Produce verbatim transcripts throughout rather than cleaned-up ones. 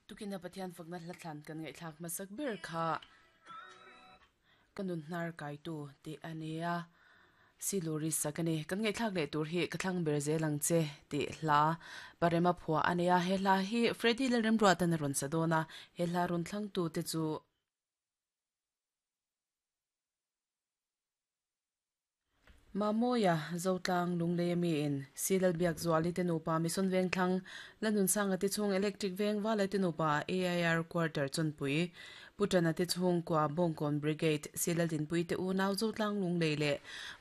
Tukina Pathian fakna hla thlan kan ngaihthlak hmasak ber kha kanun hnar kai tu ti ania siluri sakani kan ngaihthlak leh tur hi ka thlang ber zelang che ti hla parema phua ania he hla hi Freddy Lalremruatan a rawn sa dawn a he hla rawn thlang tu te chu Mamoya Zotlang Lunglei mi in Silal Biak Zuali te nupa Mission Veng thlang Lanun Sanga te chung Electric Veng Wala te nupa A I R Quarter Chonpui Putana te chung kwa Bongkon Brigade Silal Dinpui te unaw Zotlang Lunglei le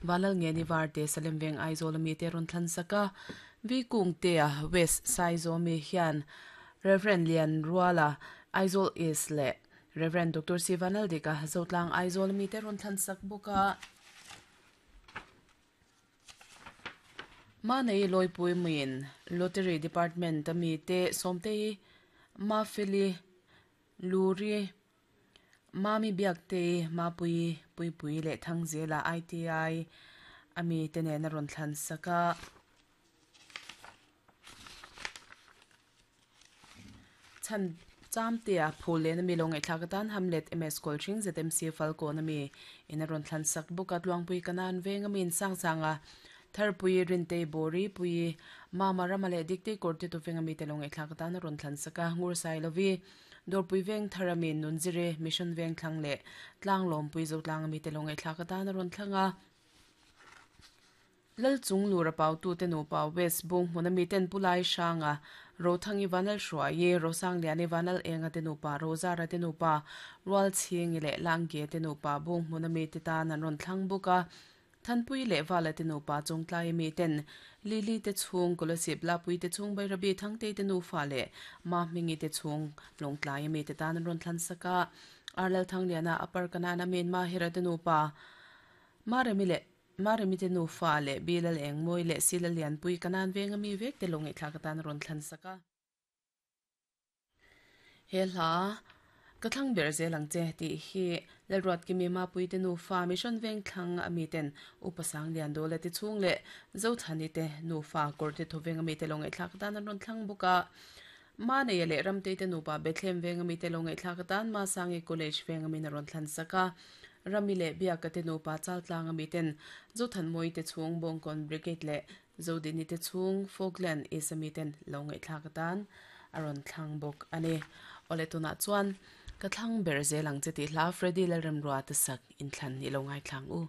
Walal Ngeni Varte Salem Veng Aizawl mi te rawn thlan saka Vi Kung te a West Saizawl mi hian Reverend Lian Ruala Aizawl East le Reverend Doctor Sivanal Dika Zotlang Aizawl mi te rawn thlan sak bawka Ma nei loipui muin Lottery Department ami te somte ma feli luri mami biak te ma pui pui pui le thangzela I T I ami te ne na ron thlan saka chan cham te a phule na mi long thlak tan hamlet M S Coaching Z M C Falcon ami ina ron thlan sak bukat luangpui kanan veng amin sang sanga tharpui rinte bori pui mama ramale dikte korte to venga mi telong thlak tan ron thlan saka ngur sai lovi dorpui veng tharamin nunjire mission veng thlangle tlang lom pui zo tlang mi telong thlak tan ron thlanga lal chung lura pau tu te nu pa west bung hmuna mi ten pulai shanga rothangi vanal hruai rosang liani vanal enga te nu pa rozara te nu pa rual ching le langge te nu pa bung hmuna mi te tan an ron thlang buka thanpui le wala te nu pa chongtlai mi ten lili te chung kolosip la pui te chung bai rabi thangte te nu fa le ma mingi te chung longtlai mi te tan ron thlan saka arlal thangliana upper kanana men ma hera te nu pa ma remi le ma remi te nu fa le bilal eng moi le silal lian pui kanan venga mi vek te longai thlak tan ron thlan saka he hla ka thlang ber zelang che ti hi lalruat ki mi ma pui te nu fa mission veng thlang ami ten upasang lian do le ti chung le zo thani te nu fa kor te thoveng ami te longai thlak tan ron thlang buka ma nei le ram te te nu pa Bethlehem veng ami te longai thlak tan ma sangi college veng ami na ron thlan saka rami le biak te nu pa chal tlang ami ten zo than moi te chung bongkon brigade le zo dini te chung Falkland is ami ten longai thlak tan aron thlang bok ani ole tuna chuan ka thlang ber zelang che ti hla Freddy Lalremruata sak in thlan ni lo ngai thlang u.